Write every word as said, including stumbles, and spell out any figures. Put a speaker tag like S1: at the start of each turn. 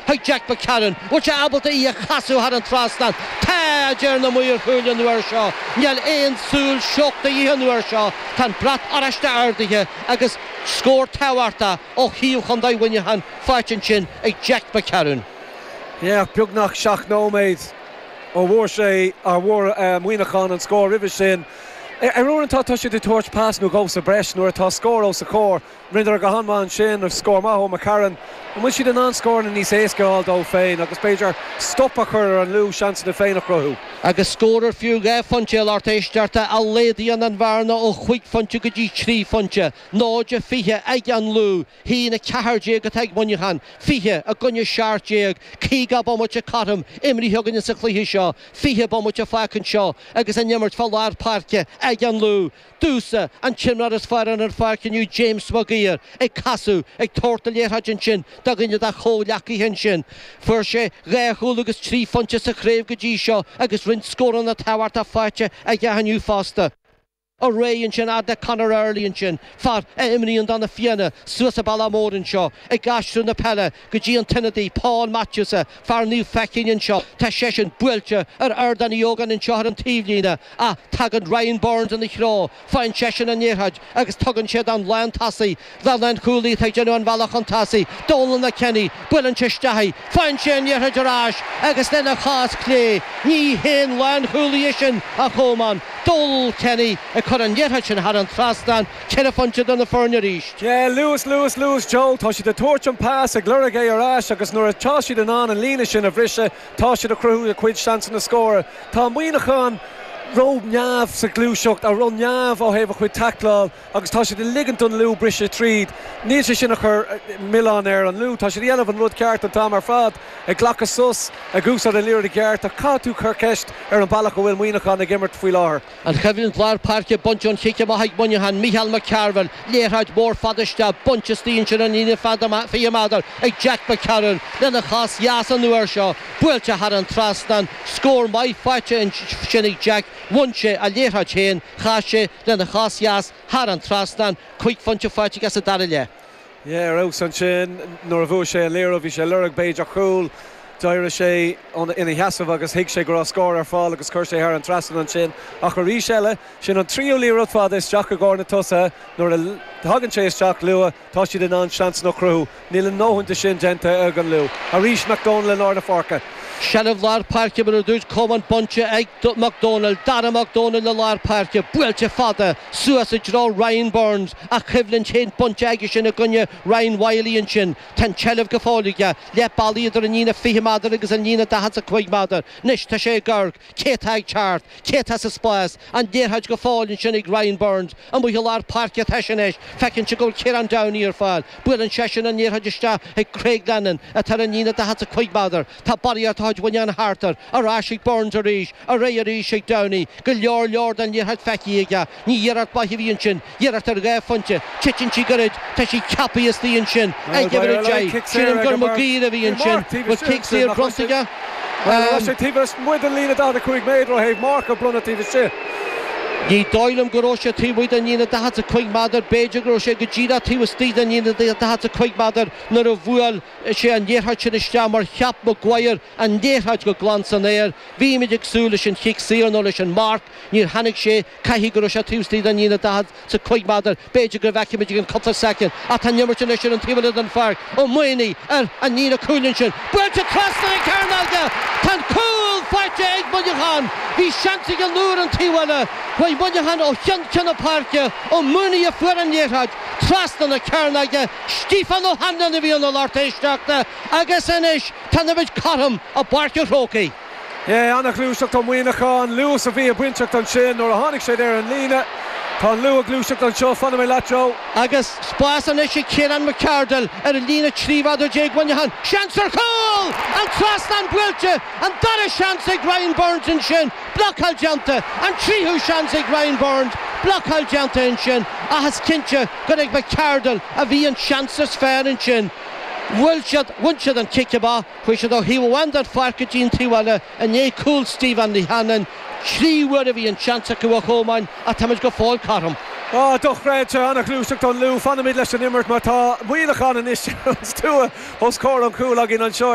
S1: chuig Jack McCarron. Bhfuil sé ábalta í a chasadh thar an trasnán? Tá, a deir na maoir chúil an uair seo. Níl aon súil seoch de dhíth an uair seo. Tá an brat oráiste ardaithe agus scór tábhachtach ó thaobh Chontae Mhuineacháin faighte ansin ag Jack McCarron.
S2: Yeah, beagnach seacht nóiméad ó bhfuair sé a bhfuair Muineachán an scór roimhe sin. Ar uaireanta tá siad ag tabhairt pas nó dhó sa breis nuair atá scór os a chomhair. Rinneadar go han-mhaith ansin ar scór maith ó McCarron. An bhfuil siad in ann scóranna níos éasca a fháil dóibh féin agus b'fhéidir stop a chur ar an Lú seansanna féin a chruthú.
S1: Agus scór ar fiú dhá phointe lucht éisteachta a laghdaíonn an bhearna ó chúig phointe go dtí trí phointe. Náid a fiche ag an Lú, haon a ceathair déag atá ag Muineachán, fiche i gcoinne seacht déag, caoga bomaite cothrom imrithe againne sa chluiche seo, fiche bomaite fágtha anseo agus an imirt fá lár páirce ag an Lú. Dúsa an t-imreoir is fearr ar an pháirc inniu James Maguire ag casadh, ag tabhairt na liathróide ansin do dhuine dá chomhghleacaithe ansin. Fuair sé dhá chúl agus trí phointe sa chraobh go dtí seo agus roinnt scóranna tábhachtacha faighte aige inniu fosta. Ar aghaidh ansin fhad le Conor Early ansin, fear a imríonn do na Fianna suas an bealach mór anseo, ag aistriú na peile go dtí an t-ionadaí Paul Matthews, fear Naomh Feichín anseo. Tá seisean buailte ar Ardán Uí Ógáin anseo ar an taobhlíne ach tagann Ryan Burns ina threo, faigheann seisean an liathróid agus tugann sé don lántosaí, don lánchúlaí atá ag déanamh an bhealach chun tosaigh, Donal Kenny, buaileann sé isteach í, faigheann sé an liathróid ar ais agus lena chos clé, ní haon lánchúlaí é sin a Chomáin, Donal Kenny ag cur an liathróid sin thar an trasnán, ceithre phointe do na foirne arís.
S2: Yeah, luas, luas, luas, Joe, tá siad ag tabhairt an pas ag lorg é ar ais agus nuair atá siad in ann an líne sin a bhriseadh, tá siad ag cruthú a cuid seansanna scóra. Tá Muineachán ró-neamh sa ghluaiseacht a ró-neamh ó thaobh a chuid tacláil agus tá siad ag ligint don Lú briseadh tríd. Níl sé sin a chur milleán ar an Lú, tá siad ag déanamh an rud ceart an t-am ar fad, ag glacadh sos, ag úsáid an liathróid i gceart, ach caithfidh tú cur ceist ar an bealach a bhfuil Muineachán ag imirt faoi láthair.
S1: An choimhlint lár páirce bainte ón chic amach ag Muineachán, Micheál McCarville, liathróid mhór fada isteach, bainte istigh ansin an líne fiche méadar ag Jack McCarron lena chos dheas an uair seo, buailte thar an trasnán, scór maith faighte ansin ag Jack, bhain sé a liathróid féin, chas sé lena chos dheas thar an trasnán, cúig phointe faighte aige sa dara leath.
S2: Yeah, ar fheabhas ansin nuair a bhuaigh sé an liathróid, bhí sé lorg b'fhéidir cúl, d'éirigh sé ina sheasamh agus thuig sé go raibh scór ar fáil agus chuir sé thar an trasnán ansin. Ach arís eile, sin an tríú liathróid fada isteach i gcomhair na tosaithe, nuair a thagann sé isteach luath, tá siad in ann seansanna a chruthú. Níl a ndóthain de sin déanta ag an Lú. Arís McDonald in lár na páirce.
S1: Seilbh lár páirce mar a dúirt Coman bainte ag McDonald, Dara McDonald i lár páirce, buailte fada suas i dtreo Ryan Burns ach coimhlint féin bainte aige sin i gcoinne Ryan Wiley ansin. Tá an tseilbh go fóill aige, leath bealaigh idir an líne fiche méadar agus an líne daichead is a cúig méadar. Anois tá sé ag amharc, cé atá ag teacht, cé atá sa spás, an liathróid go fóill ansin ag Ryan Burns, amuigh i lár páirce atá sé anois, feiceann sé go bhfuil Ciarán Downey ar fáil, buaileann seisean an liathróid isteach ag Craig Lennon atá ar an líne daichead is a cúig méadar. Tá barraíocht de chuid Mhuineacháin thart air, ar ais ag Burns arís, ar aghaidh arís ag Downey, go leor leor den liathróid feicthe aige. Ní iarracht mhaith a bhí ansin, iarracht ar dhá phointe, titeann sí gairid, tá sí ceaptha istigh ansin ag uimhir a deich. Sílim gur Maguire a bhí ansin. Bhfuil cic saor bronnta aige?
S2: Bhuel, sé taobh amuigh den líne daichead a cúig méadar ó thaobh marc a bronnadh taobh istigh.
S1: Ní dóigh liom go raibh sé taobh amuigh den líne daichead is a cúig méadar, b'fhéidir go raibh sé go díreach taobh istigh den líne daichead is a cúig méadar nuair a bhuail sé an liathróid sin isteach mar cheap Maguire an liathróid go glan san aer. Bhímid ag súil leis an chic saor nó leis an marc, níor tháinig sé, caithfidh go raibh sé taobh istigh den líne daichead is a cúig méadar, b'fhéidir go bhfeicfimid i gceann cúpla soicind. Ach tá an imirt anois ar an taobh eile den pháirc. Ó Maonaigh ar an líne cúil ansin. Buailte trasna na cearnóige! Tá an cúl faighte ag Muineachán! Bhí seans ag an Lú ar an taobh eile. Chuaigh Muineachán ó cheann ceann na páirce. Ó Maonaigh a fuair an liathróid trasna na cearnóige. Stiofán Ó hAnluain a bhí ina lucht éisteachta agus anois tá an imirt cothrom i bPáirc an Chrócaigh.
S2: Yeah, an-ghluaiseacht ó Mhuineachán, luas a bhí ag bainteacht ansin nuair a tháinig siad ar an líne. Tá an Lú ag gluaiseacht anseo, fanfaidh mé leat Joe.
S1: Agus spás anois ag Ciarán McCardle ar an líne trí mhéadar déag Mhuineacháin. Seans ar chúl! An trasnán buailte! An dara seans ag Ryan Burns ansin. Blocáil déanta! An tríú seans ag Ryan Burns. Blocáil déanta ansin. Ach is cinnte gur ag McCardle a bhí an seans is fearr ansin. Bhuail siad, bhain siad an cic amach, chuaigh siad ó thaobh amháin den pháirc go dtí an taobh eile i ndiaidh cúl Stephen Uí Hannáin. Trí huaire a bhí an seans acu a Chomáin ach táimid go fóill cothrom.
S2: Á, dochreidte, an-ghluaiseacht ón Lú. Fanfaimid leis an imirt mar tá Muineachán anois ar an stua os comhair an chúil againn anseo.